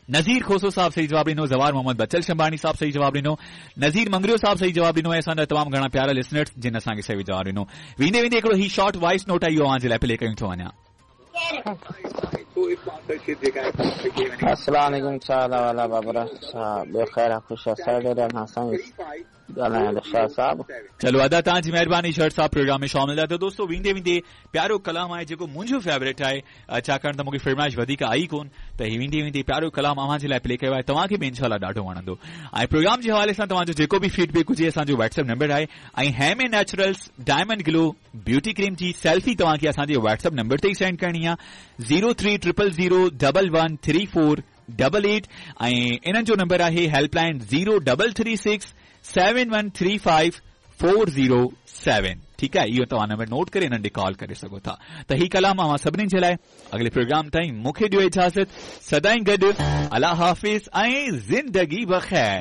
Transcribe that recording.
نذير کوسو صاحب صحيح جواب ڏنو، زوار محمد بچل شنباڻي صاحب صحيح جواب ڏنو، نذير مڱريو صاحب صحيح جواب ڏنو ۽ اسان جا تمام گهڻا پيارا لسنرز جن اسان کي صحيح جواب ڏنو. ويندي ويندي هڪڙو هي شارٽ وائس نوٽ آهي اهو اوهان جي لاء پلي ڪيون ٿو وڃان. السلام عليڪم ڇا حال احوال آ بابرا ڇا ٻيو خير آ خوش آ سرڊ ايريا کان سائين ڳالهايان ٿو شاهه صاحب. چلو ادا توهان جي مهرباني شر صاحب پروگرام ۾ شامل ٿيا ته دوستو ويندي ويندي پيارو ڪلام آهي جيڪو منهنجو فيورٽ آهي ڇاڪاڻ ته مونکي فرمائش وڌيڪ آئي ڪون ته هي ويندي ويندي پيارو ڪلام اوهان جي لاء پلي ڪيو آهي توهان کي به انشاء الله ڏاڍو وڻندو ۽ پروگرام جي حوالي سان توهان جو جيڪو به فيڊ بيڪ هجي اسان جو واٽس ايپ نمبر آهي ۽ هيمي نيچرلز ڊائمنڊ گلو بيوٽي ڪريم جي سيلفي توهان کي اسان جي واٽس ايپ نمبر تي ئي سينڊ ڪرڻي آهي zero three triple zero double one three four double eight ۽ انهن جو نمبر آهي help line zero double three six seven one three five four zero seven ٺيڪ آهي اهو توهان نمبر نوٽ ڪري انهن ڏي ڪال ڪري سگهو ٿا ته هي ڪلام اوهان سڀني جي لاء اڳلي پروگرام تائين مون کي ڏيو اجازت سدائين گڏ الله حافظ ۽ زندگي بخير.